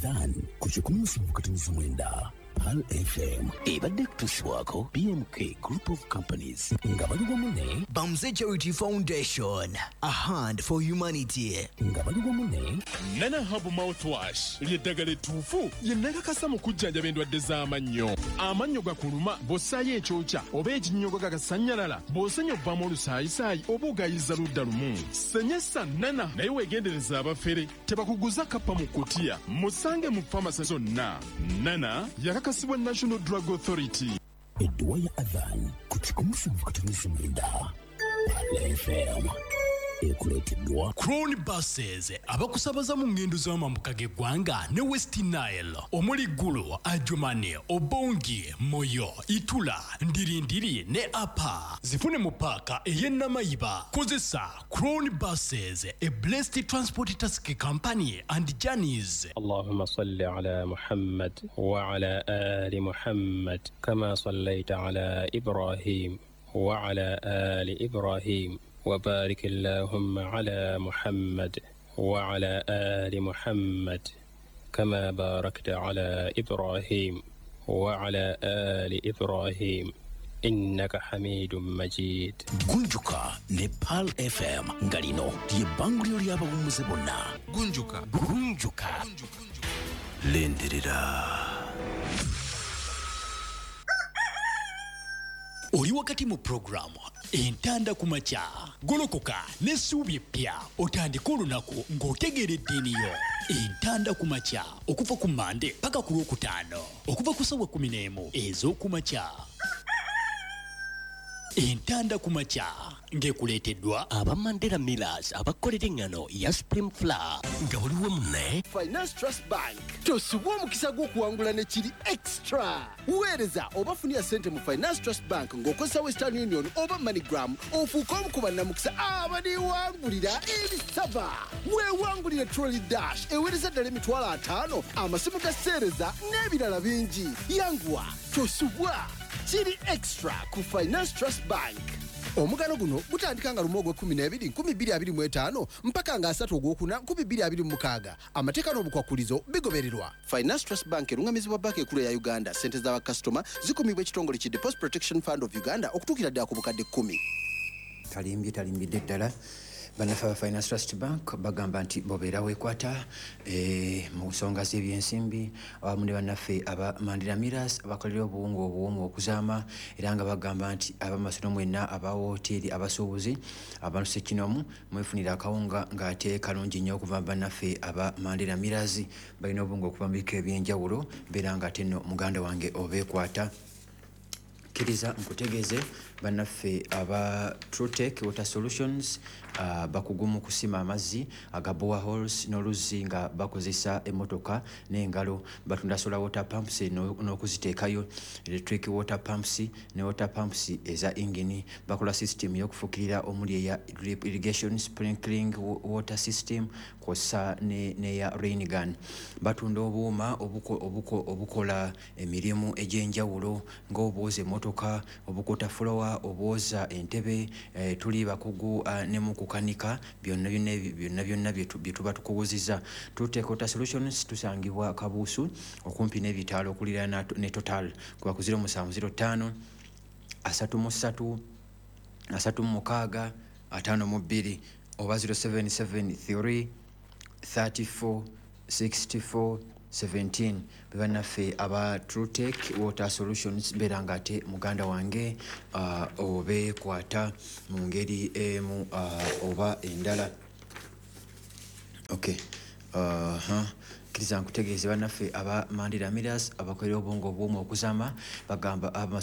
Adhan ku 107.9 Pearl FM ebadde kutuusibwako BMK Group of Companies nga bali wamu ne Bamze Charity Foundation, a hand for humanity. Nga bali wamu ne Nana Herbal Mouthwash ly'eddagala ettuufu lye nakakasa mu kujjanjaba endwadde z'amannyo. Amannyo gakuluma bw'ossaayo ekyokya oba ekinnyogo gagasannyalala, bw'osenya ovaamu olusaayisaayi oba ogayiza ludda lumu. Senyesa Nana, naye weegendereza abafere tebakuguza kappa mu kutiya. Musange mu famasi zonna. Nana yakakasibwa National Drug Authority. Edduwa ya Adhan ku 107.9 Pearl FM ekuleeteddwa Crown Buses abakusabaza mu ngendo z'amambuka g'eggwanga ne West Nile omuli Gulu, Adjumani, Obongi, Moyo, Itula, Ndirindiri ne Apa. Zifune mu paaka ey'e Namayiba. Kozesa Crown Buses, a blessed transport taxi company and journeys. اللهم صل على محمد وعلى آل محمد كما صليت على إبراهيم وعلى آل إبراهيم وبارك اللهم على محمد وعلى آل محمد كما باركت على إبراهيم وعلى آل إبراهيم إنك حميد مجيد. Gunjuka ne Pearl FM nga lino lye bbanguliro ly'abawummuze bonna. Gunjuka. Gunjuka. Lindirira. Oli wakati mu puroguramu Entanda ku Makya. Golokoka n'essuubi eppya, otandike olunaku ng'otegeera eddiini yo. Entanda ku Makya okuva ku Mande paka ku Lwokutaano okuva ku ssaawa 11 ez'okumakya. Entanda ku Makya ng'ekuleeteddwa aba Mandela Millers abakolera eŋŋano ya Supreme Flour. Nga buli wamu ne Finance Trust Bank. Tosubwa omukisa gw'okuwangula ne kiri extra. Weereza oba funira ssente mu Finance Trust Bank ng'okozesa Western Union oba MoneyGram, ofuuke omu ku bannamukisa abaliwangulira ebisaba. Weewangulire Trolley Dash eweereza ddala 50,000, amasimu ga seereza n'ebirala bingi. Yanguwa, tosubwa, kiri extra ku Finance Trust Bank. Omugano guno gutandika nga 1 ogw'e-12 2025 mpaka nga 3 ogwokuna 2026. Amateeka n'obukwakulizo bigobererwa. Finance Trust Bank erungamizibwa Banka Ekulu eya Uganda. Sente z'abakasitoma zikumibwa ekitongole ki Deposit Protection Fund of Uganda okutuukira ddala ku bukadde 10. Talimbye, talimbidde ddala. Bannaffe aba Finance Trust Bank bagamba nti bobeera weekwata mu nsonga z'ebyensimbi, awamu ne bannaffe aba Mandela Millers abakolera obuwunga obuwumu okuzaama, era nga bagamba nti abamasomero mwenna, aba woteeri, abasuubuzi, abantu ssekinomu, mwefunira akawunga ng'ate kalungi nnyo okuva mu bannaffe aba Mandela Millers. Balina obuwunga okuva mu bika ebyenjawulo. Beera nga ate nno muganda wange obeekwata. Kkiriza nkutegeeze, bannaffe aba Trutech Water Solutions bakugu mu kusima amazzi aga boreholes n'oluzzi nga bakozesa emmotoka n'engalo. Batunda solar water pumps n'okuziteekayo, electric water pumps ne water pumps eza ingini. Bakola system y'okufukirira omuli eya drip irrigation, sprinkling water system kw'ossa n'eya rain gun. Batunda obuuma obukola emirimu egy'enjawulo ng'obwoza emmotoka, obukuta fulowa, obwoza entebe. Tuli bakugu ne mu kukanika byonna byonna byonna byonna bye tuba tukuguziza. Trutech Water Solutions tusangibwa Kabuusu okumpi n'ebitaalo okuliraana ne Total, kuba ku 0705 33 36 52 oba 0773 34 64 17. Bebannaffe aba Trutech Water Solutions. Beera nga ate muganda wange obeekwata mu ngeri emu oba endala. Okay. Kkiriza nkutegeeze, bannaffe aba Mandela Millers abakolera obwongo obwomu okuzaama bagamba abamasomero